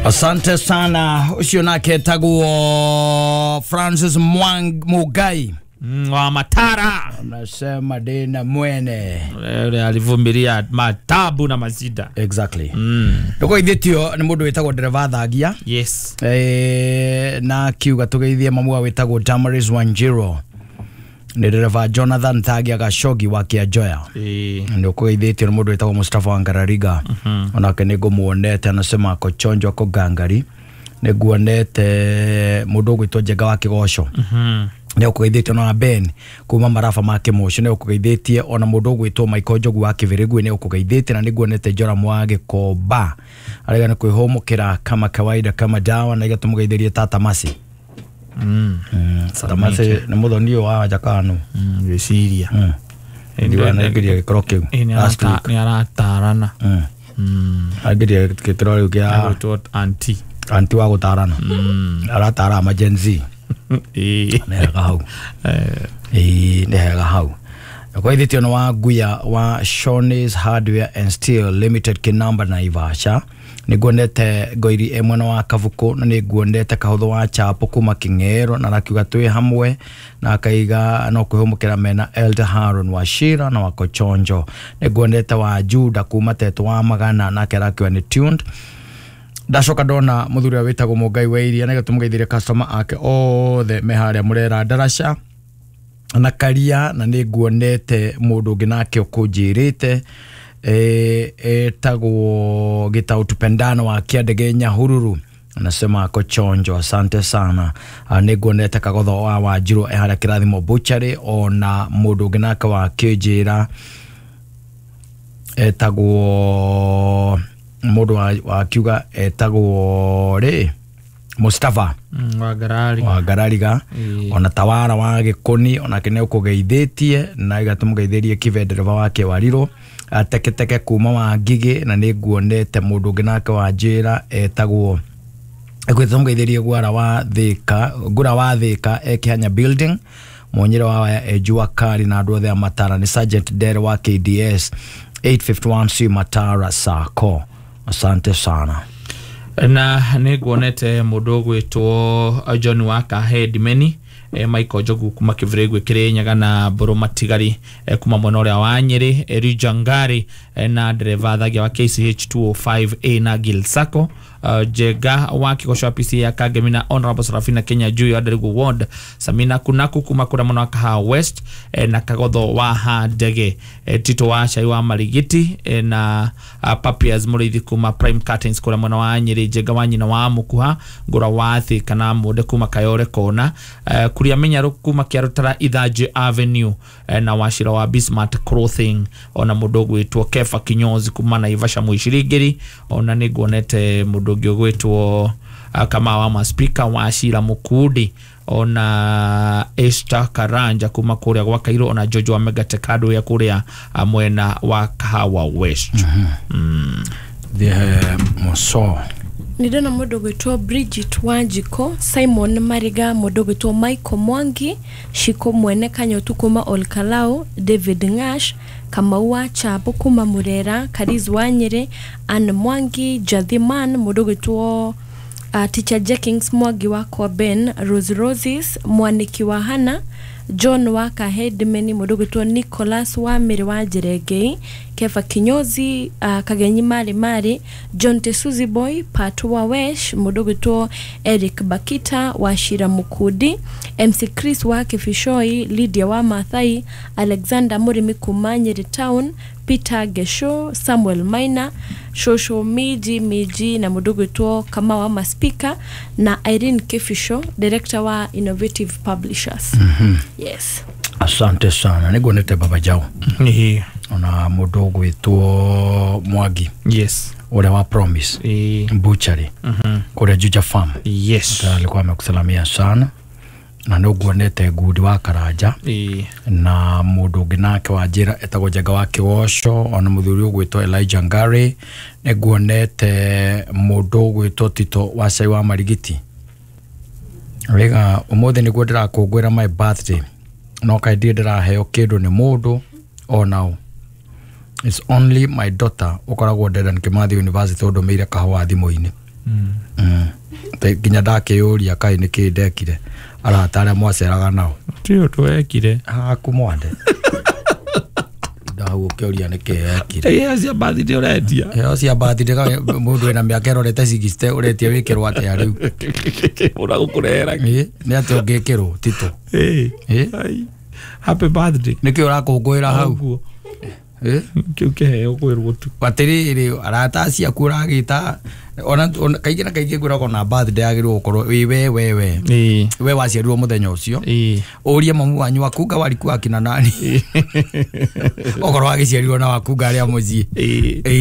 Asante sana. Ucio nake etagwo Francis Mwang Mugai wa Matara. Anasema dena mwene ule alivumilia matabu na mazida. Exactly. Ndukoithitio ni mundu witagwo dereva Thagia. Yes. Na kiuga tugeithie mamu witagwo Damaris Wanjiro. Ni dereva Jonathan Thagia Gashogi wa Kiajoya. Ndukoithitio ni mundu witagwo Mustafa Wangarariga. Onake ningumuonete anasema ako chonjo ako gangari. Niguonete mundu ugwitwo Njenga wa Kigoco. Nĩ ũkũgeithĩtio na Ben kuma marafa ma Kĩmũcio nĩ ũkũgeithĩtie ona mũndũ ũgwĩtwo Michael Njogu wa Kĩbĩrĩgui nĩ ũkũgeithĩtie na nĩguonete Joram wa Gĩkomba arega nĩ kwĩhũmũkĩra kama kawaida kama dawa na igatũmũgeithĩrie Tata Masi. Tata Masi nĩ mũthoni ũyũ wa Jakanu. Ngwĩciria ndiwanaingĩria gĩkĩro kĩu nĩ aratarana. Aingĩria gĩkĩro kĩu kĩa auntie auntie wa gũtarana. Aratara ama Gen Z. Nĩ hega hau. Nĩ hega hau. Kwa wa Guya wa Shawnee's Hardware and Steel Limited kinamba na Ivasha. Nĩguonete Ngoiri e mwena wa Kabuku na nĩguonete Kahũthũ wa Chapo kuma King'ero na rakiuga twĩ hamwe na akaiga no kwĩhũmũkĩra mena Elder Haron wa Shira na wa Kochonjo. Nĩguonete wa Juda kuma Teto wa Magana nake rakiuga nĩ tuned. Ndacoka ndona muthuri ũrĩa wĩtagwo Mũngai wa Iria na gĩtũmũgeithĩrie customer ake othe me harĩa Mũrera Ndaraca na Karia na nĩnguonete mũndũ ũngĩ nake ũkũnjĩrĩte etagwo Gĩtaũ Tupendano wa Kĩandege Nyahururu anasema ako chonjo, asante sana. Nĩnguonete Kagotho wa Wanjirũ e harĩa Kĩrathimo Butchery ona mũndũ ũngĩ nake wa kĩnjĩra etagwo mundu wa kiuga etagwo ri Mustafa wa Garari wa Garariga ona Tawara wa Gikoni ona kene ukugeithitie na igatumugeithirie kivendereva wake wariro ateketeke kuma wa Ngigi na nĩnguonete mundu ũngĩ nake wa njĩra etagwo ekwitumugeithirie gwara wa Thika ngura wa Thika ekihanya building mwonyere wa Ejua Kari na andu othe a Matara ni Sergeant Dere wa KDS 851C Matara Sako. Asante sana. Na nĩnguonete mũndũ ũgwĩtwo John wa Kahedimeni, Michael Njogu kuma Kĩbĩrĩgui Kĩrĩnyaga na Mbũrũ Matigari kuma mwena ũrĩa wa Nyĩrĩ, Elijah Ngari na dereva Thagia wa KCH 205A na Gil Sacco, Jega wa Kĩgoco wa PCA ya Kangemi na Honorable Serafina Kenya Juu ya Nderigu Ward, Samina Kunaku kuma kũrĩa mwena wa Kahawa West na Kagotho wa Handege, Tito wa Cai wa Marigiti na Papias Mũrĩithi kuma Prime Curtains kũrĩa mwena wa Nyĩrĩ, Jega wa nyina wa Mũkuha Ngũra wa Thika na Mũnde kuma Kayore Kona, Kuria Menyaru kuma Kĩarũtara Ithanjĩ Avenue na Wacira wa Bismarck Clothing ona mũndũ ũgwĩtwo Kefa Kinyozi kuma Naivasha Mũicirĩngĩri ona nĩnguonete mũndũ ũngĩ ũgwĩtwo kama wa maspika wa Shira Mukundi ona Esther Karanja kuma kũrĩa gwa Kairũ ona George wa Megatekado ya kũrĩa mwena wa Kahawa West. The Moso nindona mũndũ ũgwĩtwo Bridget Wanjiko, Simon Mariga, mũndũ ũgwĩtwo Michael Mwangi, Shiko Mwene Kanyotu kuma Olkalau, David Ngash, Kamau wa Chapo kuma Murera, Kariz wa Nyĩrĩ, Ann Mwangi, Jathiman, mũndũ ũgwĩtwo Teacher Jenkins Mwangi wa Kwa Ben, Rose Roses, Mwaniki wa Hana, John wa Kahedimeni, mũndũ ũgwĩtwo Nicholas wa Mĩrĩ wa Njerengei, Kefa Kinyozi, Kagenyi Mari Mari, John Tesuzi Boy, Patu wa Wesh, mũndũ ũgwĩtwo Eric Bakita wa Shira Mukudi, MC Chris wa Kifishoi, Lydia wa Mathai, Alexander Murimi kuma Nyeri Town, Peter Gesho, Samuel Maina, Shosho Miji Miji na mũndũ ũgwĩtwo Kama wa Maspika na Irene Kifisho, director wa Innovative Publishers. Yes. Asante sana. Nĩnguonete Baba Jao. Ona mũndũ ũgwĩtwo Mwangi. Yes. Ũrĩa wa Promise. Butchery. Kũrĩa Juja Farm. Yes. Alikuwa amekusalamia sana. Na nĩnguonete Ngundi wa Karanja. Na mũndũ ũngĩ nake wa njĩra etagwo Njenga wa Kĩgoco ona mũthuri ũgwĩtwo Elijah Ngari. Nĩnguonete mũndũ ũgwĩtwo Tito wa Cai wa Marigiti. Rĩga ũmũthĩ nĩguo ndĩrakũngũĩra my birthday no kaĩ ndirĩ ndĩraheo kĩndũ nĩ mũndũ onao. It's only my daughter ũkoragwo Dedan Kimathi University ũndũmĩire kahũa thimũ-inĩ. Nginya ndakĩyũria kaĩ nĩkĩ ndekire arata arĩa mwaceraga nao Ti ũndũ wekire. Haku mwande ndahau ũkĩũria nĩkĩ ekire. Iheo cia birthday ũretia. Heo cia birthday mũndũ wĩna mĩaka ĩrorete 60 ũretia wĩkĩrwo atĩa rĩu? Ũragũkũrehera. Ĩ, nĩ atĩa ũngĩkĩrwo tito? Ĩ. Ĩ? Ai. Happy birthday. Nĩkĩ ũrakũngũĩra hau? Ũguo. Ĩ? Kĩu kĩheo kwĩrwo tu. Atĩrĩrĩ, arata aciaku ũragĩta ona kaingĩ na kaingĩ ngwĩragwo na birthday yagĩrĩirwo gũkorwo wĩ we we we Ĩ. we waciarirwo mũthenya ũcio. Ĩ. Ũrie mamu wanyu wakunga wariku akina nani okorwo wagĩciarirwo na wakunga arĩa mũciĩ. Ĩ. Ĩ.